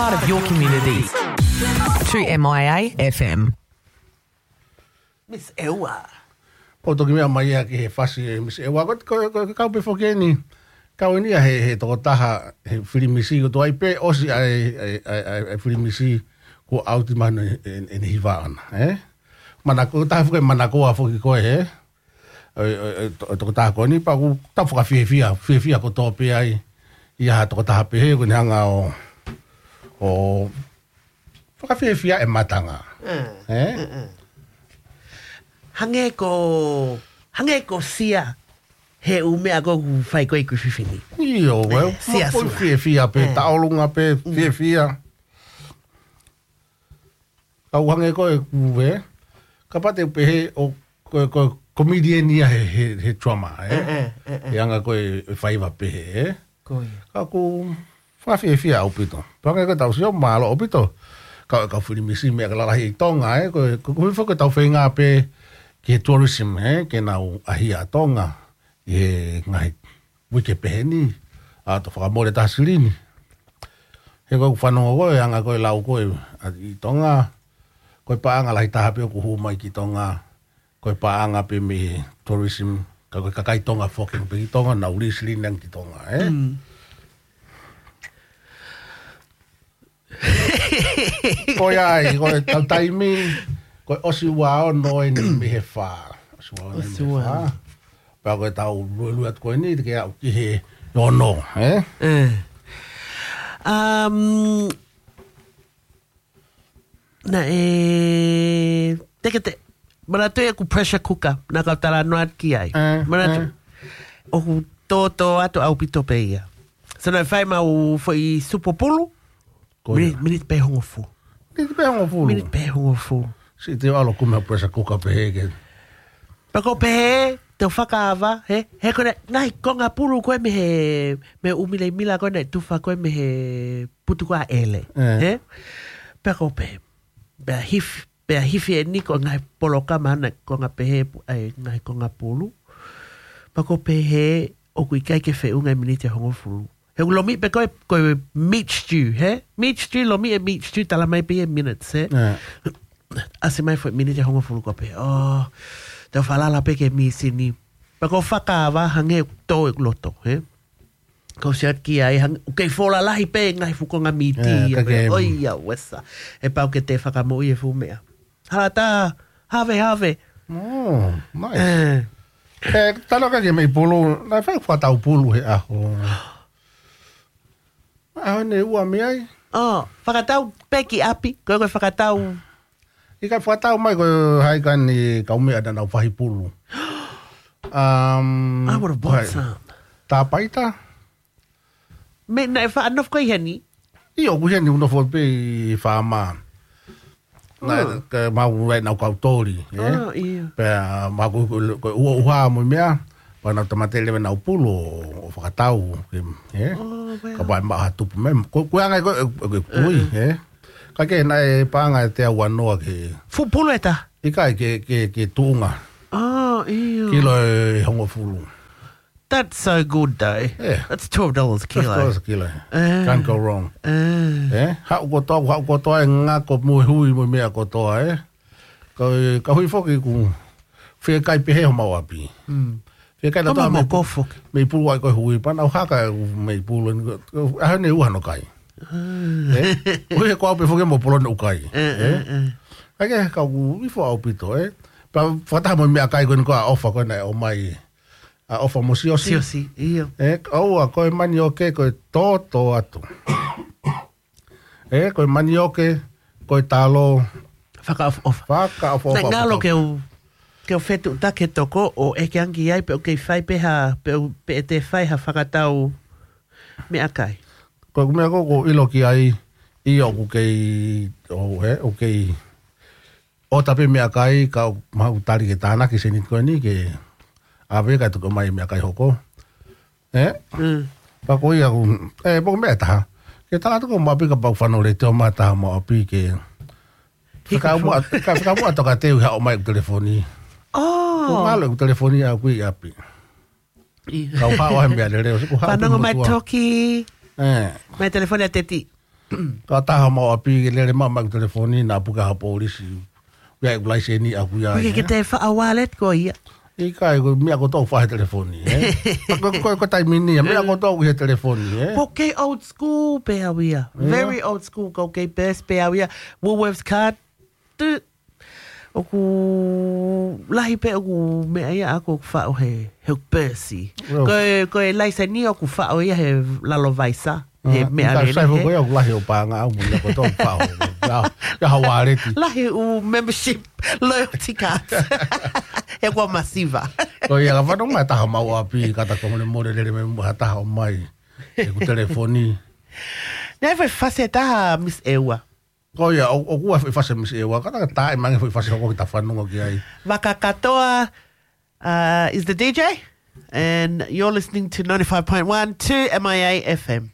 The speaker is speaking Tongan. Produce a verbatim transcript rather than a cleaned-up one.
Part of your community. Two M I A F M. Miss Ewa. Pau toki meʻa mai ia ki he fasi ʻe Miss Ewa. Ko, ko, ko, ko kau pē foki eni. Kau eni ia he, he tokotaha, he filimisi ko tuai pē, ʻosi ai, ai, ai, ai, ai filimisi ko ʻauti manu e, e, e ni hiva ana, eh? Mana ko taha foki manakoa foki ko e, eh? E, e, e, to-, tokotaha ko eni pea ʻoku tau fakafiefia, fiefia kotoa pē ai. ʻI ha tokotaha pehē ko eni hanga ʻo, ʻo fakafiefia e matanga. Mm. Eh? Mm, mm. Hangē ko, hangē ko Sia he ʻū meʻa ko ʻoku fai ko ē ʻi Kuififini. ʻIo, well, eh, Sia ma poi Sula. Fiefia pē, eh, taʻolunga pē, mm, fiefia. Kau hangē ko e kuve, kapau te u pehē ʻoku, ko, ko, comedian ia he, he, he drama, eh? Eh, eh, eh, eh. He anga ko e, e faiva pehē, eh? Ko ia. Ka ʻoku fakafiefia ʻaupito. Pea hangē ko ʻetau sio mālō ʻaupito. Ka, ka filimisi meʻa ka lalahi ʻi Tonga, eh? Ko, ko, ko hifo ke tau feinga pē ki he tourism, eh? Ke nau ʻaʻahi ʻa Tonga ʻi he ngaahi uike pehē ni, ʻa to fakamole taha silini. He ko e fanongo ko e anga ko e lau ko e, ʻa, ʻi Tonga, ko e paʻanga lahi taha pē ʻoku hū mai ki Tonga, ko e paʻanga pē mei he tourism, ka ko e kakai Tonga foki pē ki Tonga, nau lī silini ange ki Tonga, eh? Mm. Ko ia ai, ko e tau taimi, ko e ʻosi ua ono eni mei he fā. ʻOsi ua ono eni mei he fā. Pea ko e tau luelue atu ko eni, te ke aʻu ki he ono, eh? Eh. Um, naʻe, te ke te, manatu ʻeku pressure cooker, naʻa kau talanoa atu ki ai. Eh, manatu, eh. ʻOku tōtō atu ʻaupito pē ia. So naʻe fai mau foʻi supo pulu, ko ia. Miniti, miniti pē hongofulu. Miniti pē hongofulu. Miniti pē hongofulu. Siʻi te u ʻalu ʻo kumi ha pressure cooker pehē ke. Pea ko e pehē, te u fakaava, he, he ko e ngaahi konga pulu ko ē mei he, mei he ʻū milemila ko ē naʻe tufa ko ē mei he putu ko ē ʻa ʻEle. Eh. He? Pea ko e pehē, pea hif-, pea hifo eni ko e ngaahi polokalama naʻe konga pehē pu-, ʻa e ngaahi konga pulu. Pea ko e pehē, ʻoku ʻikai ke feʻunga e miniti ʻe hongofulu. He ʻoku lomiʻi pē ko e, ko e meat stew, he? Meat stew, lomiʻi e meat stew, tala mai pē e minutes, he? ʻAsi mai foʻi miniti ʻe hongofulu ko e pehē. Oh, te u falala pē ki he mīsini. Pea ko e fakaava hangē ʻoku tō ʻeku loto, he? Kau siʻi ʻatu ki ai, hangē ʻoku kei fola lahi pē ngaahi fuʻu konga mīti, ʻio, ia ka pē, ke ʻoi ia, uesa. ʻE pau ke te fakamoʻui e fuʻu meʻa. Hala tā, have, have. Oh, nice. Eh. Eh, talo ka ke mei pulu, naʻe fai fakatau pulu he ʻaho. ʻAho ʻeni ua mei ai. Oh, fakatau pē ki ʻapi, ko e, ko e fakatau. ʻIkai fakatau mai ko hai ka ni kau meʻa naʻa nau fahi pulu. Um, I would have bought some. Tāpaita? Mei, naʻe faʻa nofo ko ē ʻi heni? ʻIo, ʻoku ʻi heni, ʻoku nofo pē ʻi fāma. Naʻe, oh, ke mau rai nau kau toli, eh? Oh, ʻio. Pea mau ko, ko, ko e ua ʻuha mo e meʻa, pea nau tāmateʻi leva nau pulu ʻo, ʻo fakatau, ke, eh? Oh, wow. Kapau ʻe maʻu ha tupu mai. Ko, ko e anga ko, ko, ko, kui, eh? Ka ke naʻe paʻanga ʻe teau ua noa ke. Fuʻu pulu ʻe taha? ʻIkai ke, ke, ke tuʻunga. Oh, ʻio. Kilo ʻe hongofulu. That's so good, though. Yeah. That's twelve dollars a kilo. Twelve dollars a kilo. Eh. Can't go wrong. Eh. Eh? Haʻu kotoa, haʻu kotoa e ngako mo e hui mo e meʻa kotoa, eh? Ka, ka hui foki ʻoku fiekaia pehē homau ʻapi. Mm. Fiekaia. Ka naʻa mo e mei moko foki. Mei pulu ai ko e hui, pea nau haka e mei pulu, ʻaho ʻeni ua hono kai. Ah. Eh? Hui he ko au pē foki mo polo ne ukai. Eh, eh, eh. Ai ke, ka ʻoku ifo ʻaupito, eh? Pea fakataha mo e meʻakai ko eni ko e ʻofa ko ē naʻe ʻomai. ʻA ʻofa mo Siosi. Siosi, ʻio. Eh, ʻoua, ko e manioke, ko e toto atu. Eh, ko e manioke, ko e talo. Fakaʻofoʻofa. Fakaʻofoʻofa. Naʻe ngalo ke u, ke u fetuʻutaki he toko, ʻo ʻeke ange ki ai, pe ʻoku kei fai pē ha, pe ʻoku, pe ʻe te fai ha fakatau meʻakai. Ko e meʻa ko, ko ʻilo ki ai, ʻio ʻoku kei, ʻo, eh, ʻoku kei ʻota pē meʻakai, ka ʻoku mau tali ke tānaki seniti ko eni ke ʻave ka tuku mai meʻakai hoko. Eh? Mm. Pea ko ia ʻoku, eh, pea ko e meʻa ʻe taha. Ke tala atu ko mau ʻapi kapau fanole te o mata mau ʻapi ke. Hika fakaʻamu fu-, ka fakaʻamu ʻa toka te u haʻu mai ʻeku telefoni. Oh. Ko ngalo ʻeku telefoni ʻaʻaku ʻi ʻapi. ʻIo. Kau haʻu he meʻa lelei, ʻosi ko haʻu. Fanongo mai motuʻa. Toki. Eh. Mai telefoni ʻa Teti. Ka taha mau ʻapi ke lele maʻu mai ʻeku telefoni naʻa puke ʻe ha polisi. Ia ʻeku laiseni ʻaʻaku ia. Ko ia ke te faʻa wallet ko ia. ʻIkai, ko e meʻa kotoa ʻoku faʻa he telefoni, ē? Ko, ko, ko e taimi ni, meʻa kotoa ʻoku he telefoni, ē? Ko e kei old school pē au ia. Very old school, ko e kei best pē au ia. Woolworths card. Tu, ʻoku lahi pē ʻeku meʻa ia ʻaʻaku ʻoku faʻo he, he pēsi. Ko e, ko e laiseni ʻoku faʻo ia he lalo vaisa. He meʻa lele. Sai foki ia ʻoku lahi ʻeku paʻanga ʻaʻaku mo e meʻa kotoa ʻoku faʻo. Ia, ia ha wallet. Lahi ʻeku membership loyalty card. He kuo masiva. Ko ia ka fanongo mai taha mau ʻapi ka ta kongole mole lele mai mo ha taha ʻomai ʻeku telefoni. Never fase taha Miss Ewa. Ko ia, ʻo, ʻoku ʻi ai e foʻi fasi Miss Ewa, ka ta taʻe mangi e foʻi fasi hoko ki ta fanongo ki ai. Vaka Katoa, uh, is the D J, and you're listening to ninety-five point one two M I A F M.